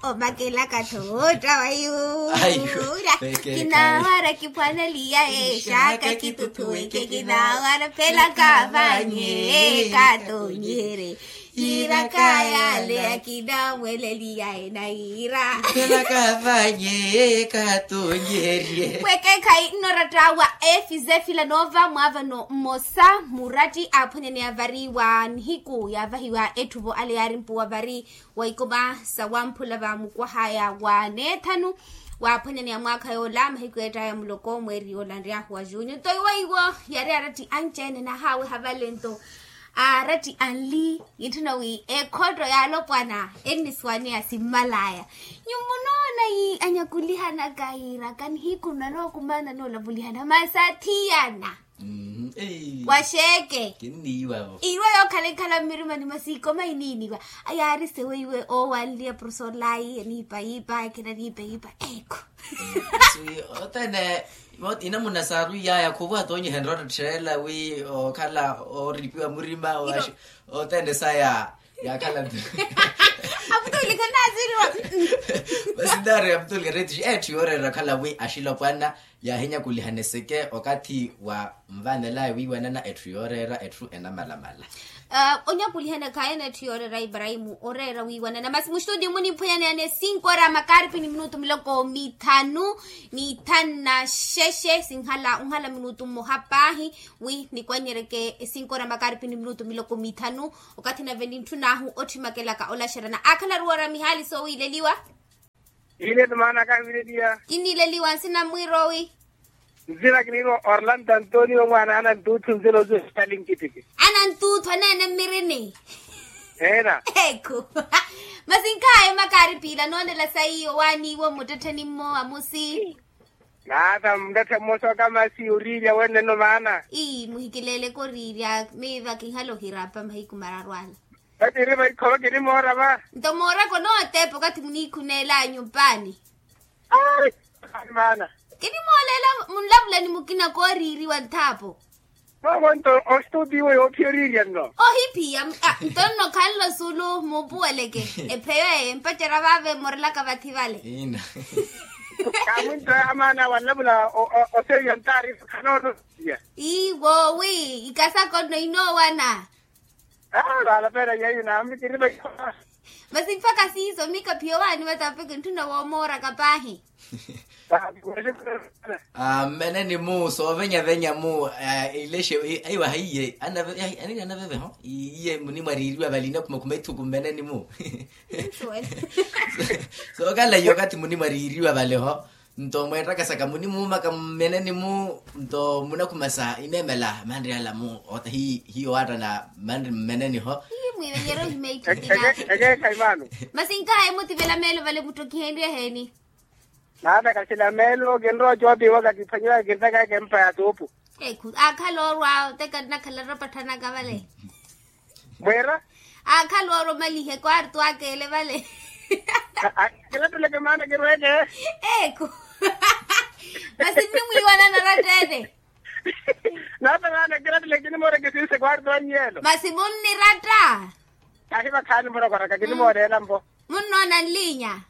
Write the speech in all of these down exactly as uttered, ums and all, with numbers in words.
Omakelaka tho wootta wa yuura. Kinawara kiphwaneliya exaka kituthuweke kinawara phelaka vanye katonyere. Yiraka yaleya kinamweleliya ena yira. Phelaka vanye katonyere. Wekekhayi nnoratta wa efize filanova mwaavano mmosa muratti aaphwanyaneya vari wa nihiku yaavahiwa etthuvo ale yaarimpuwa vari wa ikoma sawamphula va mukwahaya wa neethanu. Waaphwanyaneya mwaakha yoola mahiku eettaya muloko mweeri yoola nryahu wa junyu nto iwo iwo yari aratti anci-ene nahaaweha vale nto aratti anli. Itthuna wi ekhotto ya alopwana ennisuwaneya simmalaya. Nyuwo munoona yi anyakulihanaka yiiraka nihiku nnanookumana noolavulihana masi athiyana. Waxeeke kinniiwavo iwe yookhala ekhala mmirimani masi ikoma iniiniwa. Ayaari seweiwe oowanliya profesor lai aniipa yiipa ekhela niipa yiipa. Ekhu othene inamuna saarwiyaya khuvo atoonyihenrya otttheela wi okhala ooripiwa murima. Othene saya yakhala. Aputulika naasiriwa. Masi naari aputulika netti etthu yooreera okhala wi axilopwana yaahinyakulihana eseke okathi wa nvanelaya wiiwanana etthu yooreera etthu enamalamala. Onyakulihana khaayana etthu yooreera ibrahimu oreera wiiwanana masi muxituti muniphwanyaneyane sinko ra makaripi ni minutu miloko mithanu ni thanu na xexe sinhala onhala minutu mmoha paahi wi nikwannyereke sinko ra makaripi ni minutu miloko mithanu. Okathi nave nintthun'ahu otthimakelaka olaxerana aakhala aruwara mihaali soowiileliwa. Iile ni maana kahiwileliya. Kinniileliwa nsina mwiiroowi. Nsina kiniirwa orlando antonio mwaana anantuuthu nsina oziwa sitali nkitiki. Anantuuthu aneene mmirini. Eena. Ekhu masi nkhaye makaari piila noonela saiyo waaniiwo mmuttettheni mmo amusi. Naatha muttetthe mmosa okamasi oriirya wennenno maana. Ii muhikileeleke oriirya miiva kinhala ohirapa mahiku mararu ala. Kati iri vaikholo kinimoora va. Nto mooraka onootepa okathi muniikhuneela nyumpaani. Aari maana. Kinimooleela munlavulani mukina kooriiriwa nthaapo. Vavo nto ostuti iwe yoophiya oriirya nno. Ohiphiya nto nno khanlo sulu muupuweleke. Epheyo eye mpacerya vaave mmorelaka vathi vale. Kaamwinto ya maana wanlavula oseeya ntaari khanootosiya. Iwo wi ikasaka onno inoowana. Aala pera yaiyo naambi kiri vaikhola. Masi mpakha siiso miika phiyo waani vatapeke ntthuna woomooraka paahi. Mmeneni mu soovenyavenya mu ilexe aiwa haiye anaveve ho iye munimwariiriwa vali inakhumakhuma ithuku mmeneni mu. Sookala iye okathi munimwariiriwa vale ho. Nto mweettakasaka munimuumaka mmeneni mu nto munakhumasa imeemela manri ala mu ota hiyo waatta na manri mmeneni ho. Masi nkhaye mutivela meelo vale muttokiheniwe heeni? Naataka sila meelo kinrowa ocoopiwa kakiphwanyiwa kintaka kempa ya tuupu. Ekhu aakhala orwa oteka nnakhala nrapatthanaka vale. Mweera. Aakhala orwa omalihe kwartu aka ele vale. Kiratteleke maana kirweeke. Ekhu masi nnimwiiwanana oratta ene. Naata maana kiratteleke kinimooreke sinse kwartu annyelo masi munniratta. Ahi vakhaani murokoraka kinimooreela mpo. Munnoona nliinya.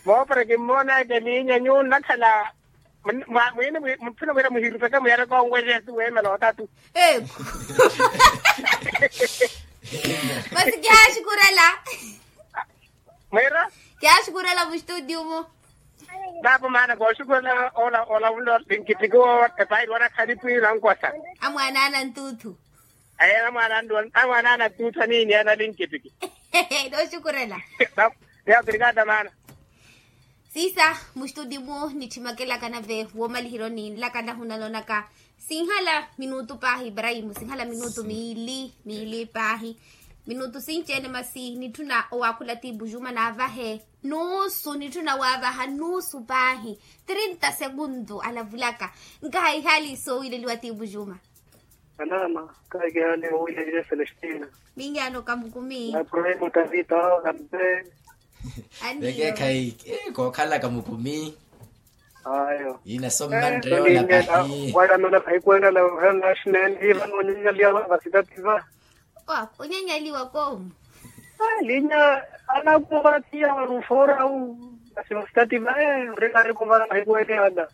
Moopara kimmoonaka eliinya nyuwo nnakhala. Mwiini mutthuna wira muhirupeke muyareke onwerya eti weemela otatu. Ekhu masi kihaaxukurela. Mwiira. Kihaaxukurela muxituti umu. Naapo maana kooxukurela olavula linkitiki wo epairi wanakhalipi nankosa. Amwaana anantuuthu. Aye amwaana anantuuthu aniini analinkitiki. Nooxukurela. Yaatirikaata maana. Siisa muxituti mu nitthimakelaka nave woomalihironi nlaka nahunanonaka. Sinhala minutu paahi ibrahimu sinhala minutu miili miili paahi. Minutu sinci-ene masi nitthuna owaakhula tiipu juma naavahe nuusu nitthuna waavaha nuusu paahi. Trinta seguntu alavulaka. Nkaha ihaali soowiileliwa tiipu juma. Anaama kahikihaali owiileliwa celestina. Minyaano kamukumi. Aprohimo tavita awo kampe. Vekeekhayi kookhalaka mukumi. Ayo. Ina so mmanre yoona pahi. Walamela pahi kwenda na national iva nonyanyaliwa vasitativa. Wa onyanyaliwa koomu. Linya, anakumva tiya warufoora au. Asivastati vae, orikari kumva na mahiku ene ana.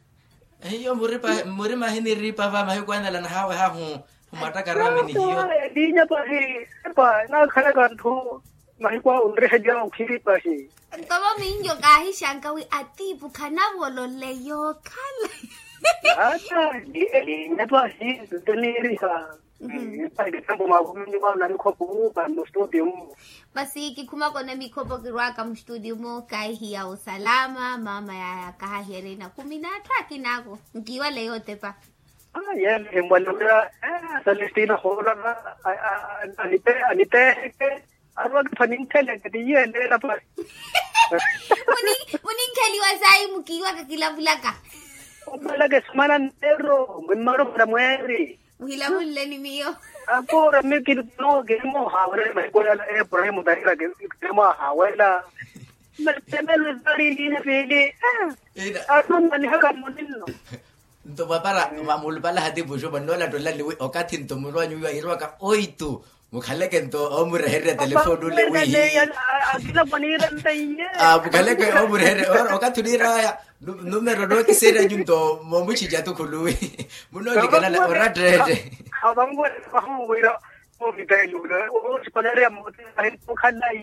Hiyo muripa murima hiniripa va mahiku anala nahawe hahu. Humwattaka rami ni hiyo. Linya pahi, epa nakhalaka nthu. Mahiku awo nriheliwa okhiri pahi. Nto vo minjo kaahixanka wi atiipu khanavololeya okhala. Ata, linya pahi. Ntoniiriha. Pahi kitambo mavuminyu vano nanikhopo mu vano studio mu. Masi kikhumaka ona mikhopo kirwaka mustudio mu kaihiya osalama mama yaya kahahiya erina khumi n'atthu akina ako. Nkiwale yotepa. Yele himbwale wira. Celestina hoolava. Anipeheke. Arwaka pha nintheleke tiyele ela pari. Muninkheliwa sayi mukiwaka kilavulaka. Omalaka esumana nteru. Mwimmaru mara mweeri. Muhilavulile ni miyo. Akoora mi kili no kili moohawerela mahiku yala eprahimu tarira kili moohawerela. Temelo zalilile pili. Atumanihaka muninno. Nto mwapara mulupala hatipu juma nnoolattola niwi okathi nto mulwanyu wiwa irwaka oitu. Mukhaleke nto omureherya telefoni ule wihi. Mukhaleke omureherya okathi oniiraya. Numero nookiseerya nyu nto moomuchicha tukhuluwi. Munoolikana oratteette. Avanguwela vahuwira. Ovitaili ule. Osipalerya mmote ahinkukhala.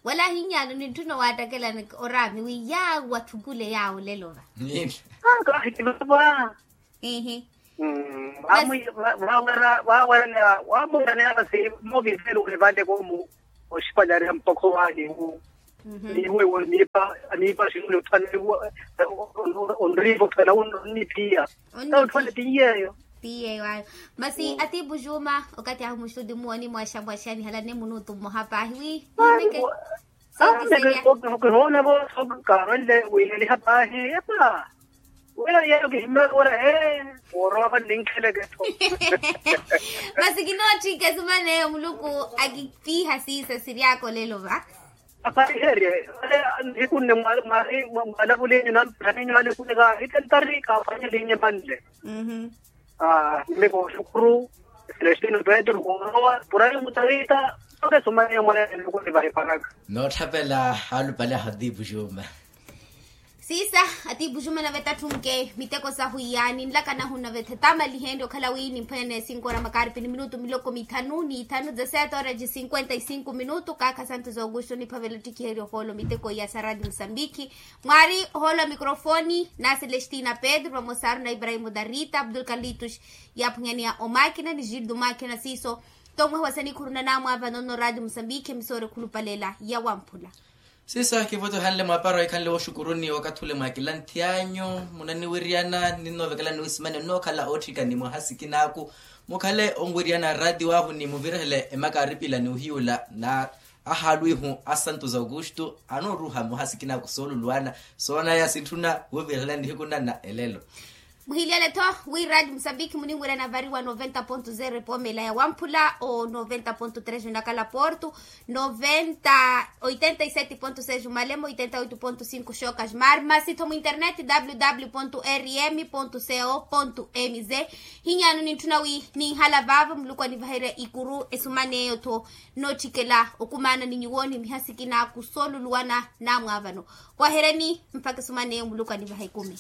Wala hinyano nintthuna owaattakela oraami wi yaawo atthukule yaawo lelo va. Kahikivava. Ihi. Waamuraneya vasi moviveluke vale koomu. Oxipanyariha mpokho waaniwu. Niwe woniipa niipa xinuli othana. Onriipa othana onnipiya. Onniphiya. Tiyeyo. Tiyeyo ayo. Masi atiipu juma okathi ahu muxuti muwoni mwaxamwaxani halanne munutu mmoha paahi wi. Kihoona vo. Kaarwenle wiileliha paahi epa. Wira yeyo kihimmaka ora ee. Woorowa vanninkheleke-tho. Masi kinootthika esumaneyo muluku. Akipiiha siisa siryaka olelo va. Apariherye. Nihiku nne mwalavulinyu namphaninyu alekuneka itentari kaafanye linye manle. Mimi kooxukuru. Celestino petro koorowa purayi mutariita. Soke sumaneyo mwaneene nukuni vahipanaka. Nootthapela alupale ahatipu juma. Siisa atiipu juma nave tatthunke miteko sahu iya ninlaka nahu nave thetama lihenrye okhala wi nimphwene cinco ora makarpi ni minutu miloko mithanu ni ithanu dezasete ora cinquenta y cinco minutu kaakha santos augusto niphavela ottikiherya ohoolo miteko iya sa radio musambiki. Mwaari ohoolo wa mikrofoni na celestina pedro vamosaru na ibrahimo darita abdul kalitus. Yaaphunyaneya omakina ni gildo makina siiso. Nto mwaha wa sanikhuru na naamwaavano nno radio musambiki emisoori khulupalela ya wamphula. Siisa kivotohanle mwaapara wa ikhanle wooxukuruni wakathi ule mwaakila nthi anyu munaniwiryana ninnoovekela niwisimani onnookhala ootthikani mwaha sikinaaku. Mukhale onwiryana raatiyo ahu ni muvirehele emakaaripila ni ohiyula na ahaalwihu a santos augusto anooruha mwaha sikinaaku sooluluwana soonaya sintthuna wuvirehela nihiku nanna elelo. Muhiliyale-tho wi radio musambiki muninwira navariwa noventa ponto zero epoomela ya wamphula o noventa ponto tres onakala porto noventa oitenta y sete ponto seis malemo oitenta oito ponto cinco xocas mar masi-tho mu internet www rm co mz. Hinyano nintthuna wi ninhala vaava muluku anivaherya ikuru esumaneyo-tho. Nootthikela okumaana ni nyuwo ni mihasikina kusoluluwana namwaavano. Wahereni mpaka esumaneyo muluku anivaha ikumi.